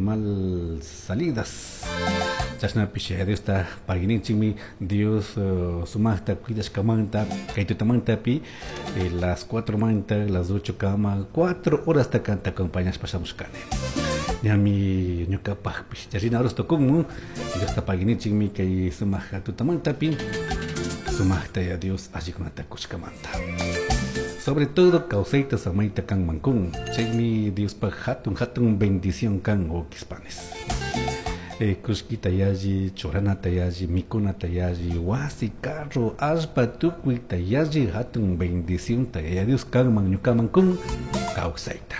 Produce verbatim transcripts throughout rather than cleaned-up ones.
Mal salidas. Chashnapish Diosta paguininchikmi Dios uh, sumaqta cuidashkamanta kay tutamantapi eh, las cuatro manta las ocho kama cuatro horas ta kanta acompañashpa shamushkani. Ñami ñuqapaqpish charina horas tukunmun Diosta paguininchikmi kay sumaq tutamantapi sumaqta ya Dios allikunata kushkamanta. Sobre todo kawsayta samayta kanman kun chaymi Diospaq hatun hatun bendición kan wawqispanes. Eh, kullkita yalli, churanata yalli, mikunata yalli, wasi, carro, allpa tukuyta yalli hatun bendicionta Yaya Dios kanman ñukaman kun kawsayta.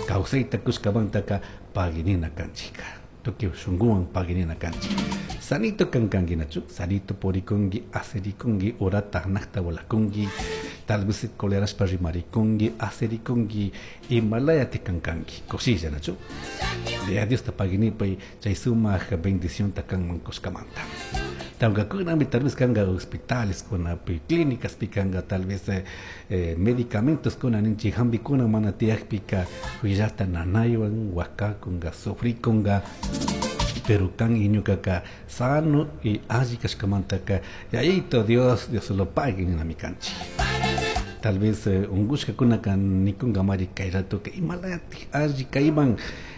Kawsayta kushkamantaka paginina kanchika. Tukuy shunkuwan paginina kanchik. Sanito kankankinachu, sanito purikunki, asirikunki, horata hanaqta volakunki, tal vez colerashpa rimarikunki, asirikunki, imalaya tikankanki, kushilla nachu. Yaya Diosta paginipay chay sumaq bendicionta kanman kushkamanta. Tawkakunami tal vez kanga hospitales kunapi, clínicas pikanga tal vez eh, eh, medicamentos kuna ninchik hampikuna mana tiyakpika huillata nanaywan wakakunga sufrikunga pero kan y ñukaka sano y alli kashkamantaka Yayito Dios, Dios lo pague ninami kanchik. Tal vez eh, unkushkakunaka nikunka mari kay ratoka imalatik alli kayman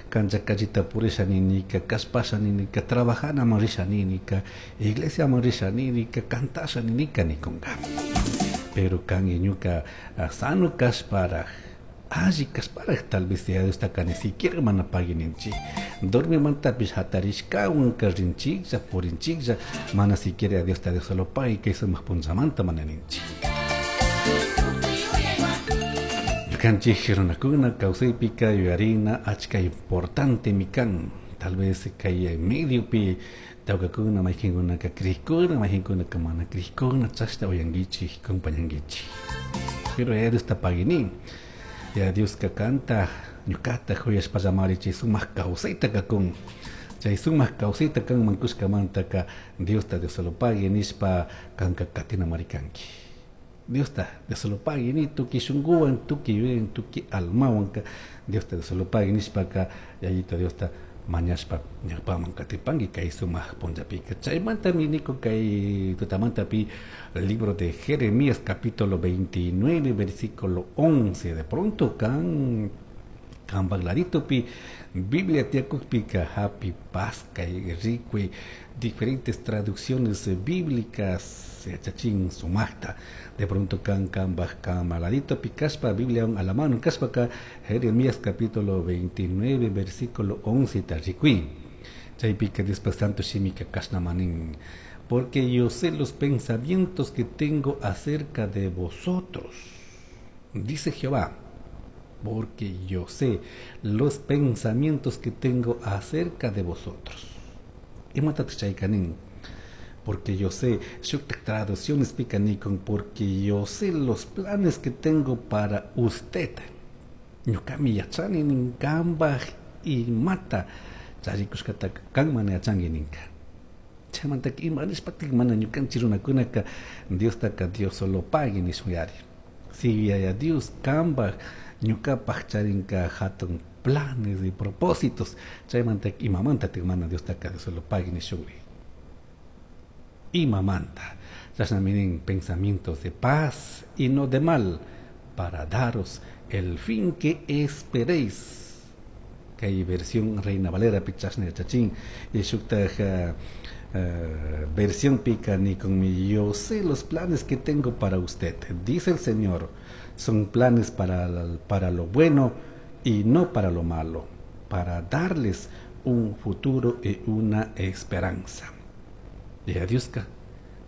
kancha kallita purisha ninika, kashpasha ninika, trabajanaman risha ninika, iglesiaman risha ninika, cantasha ninika nikunka. Pero kan y ñuka uh, sano kashparaj alli kashparaj tal vez ya Diosta ni siquiera mana paguininchik. Dormimantapish hatarishkawan rinchiklla purinchiklla mana siquiera Diosta Dios solo pagui kay sumaq punchamanta mana ninchik. Ñukanchik runakuna kawsaypika yuyarina achka importante mi kan tal vez kay mediopi tawkakuna mayqinkunaka crikuna mayqinkunaka mana crikuna chashna uyankichik compañankichik. Pero Yaya Diosta paguini Yaya Dioska kanta ñukata huyashpallamari chay sumaq kawsayta kakun chay sumaq kawsayta kanman kushkamantaka Diosta Dios solo pague nishpa kanka katinamari kanki. Diosta Dios solo pague ni tukuy shunkuwan tukuy yuyaywan tukuy almawanka Diosta Dios solo pague nishpaka Yayito Diosta mañashpa ñawpaman katipanki kay sumaq punllapika. Chaymantami niko kay tutamantapi libro de Jeremías capítulo veintinueve versículo once de pronto kan kanpak laditopi Biblia tiyakukpika hapi paskay rikuy diferentes traducciones bíblicas yachachin sumaqta de pronto kan kanpak kama laditopi kashpa Biblia a la mano kashpaka Jeremías capítulo veintinueve versículo once ta rikuy chaypika Diospak santo shimika kashnamanin porque yo sé los pensamientos que tengo acerca de vosotros, dice Jehová, porque yo sé los pensamientos que tengo acerca de vosotros. Imatataq chayka nin? Porque yo sé, shuktak traducciones pika nikun, porque yo sé los planes que tengo para usted. Ñuqami yachani nin kanpaq imata charikushkataka kan mana yachanki ninka. Chaymantaka ima nishpatik mana ñukanchik runakunaka Diostaka Dios solo pague nishun yari. Si Yaya Dios kanpaq ñuqapaq charinka hatun planes y propósitos chaymantaka imamantatik mana Diostaka Dios solo pague nishunri. Imamanta chashnami nin pensamientos de paz y no de mal para daros el fin que esperéis. Kay versión Reina Valera pi chashna yachachin y shuktaj uh, uh, versión pika nikun yo sé los planes que tengo para usted, dice el Señor, son planes para, para lo bueno y no para lo malo, para darles un futuro y una esperanza. Yaya Dioska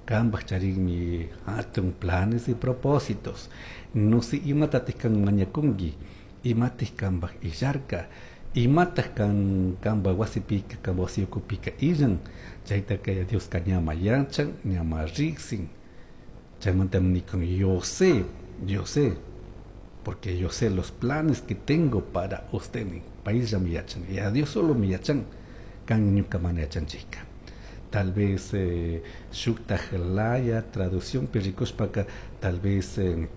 kanpaq charinmi hatun planes y propósitos. No sé imatatik kan mañakunki, imatik kanpaq illarka, imataq kan kanpaq wasipika, kanpaq wasi ukupika illan, chaytaka Yaya Dioska ñama yachan, ñama riqsin. Chaymantami nikun yo sé, yo sé, porque yo sé los planes que tengo para usted, payllami yachan, Yaya Dios solo mi yachan, kan ñuka mana yachanchikka. Tal vez eh, shuktaj laya traducción rikushpaka tal vez eh,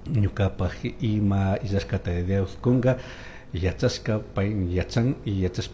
ñuqapaq ima illashkata Dios kunka yachashka pay yachan y yachashpa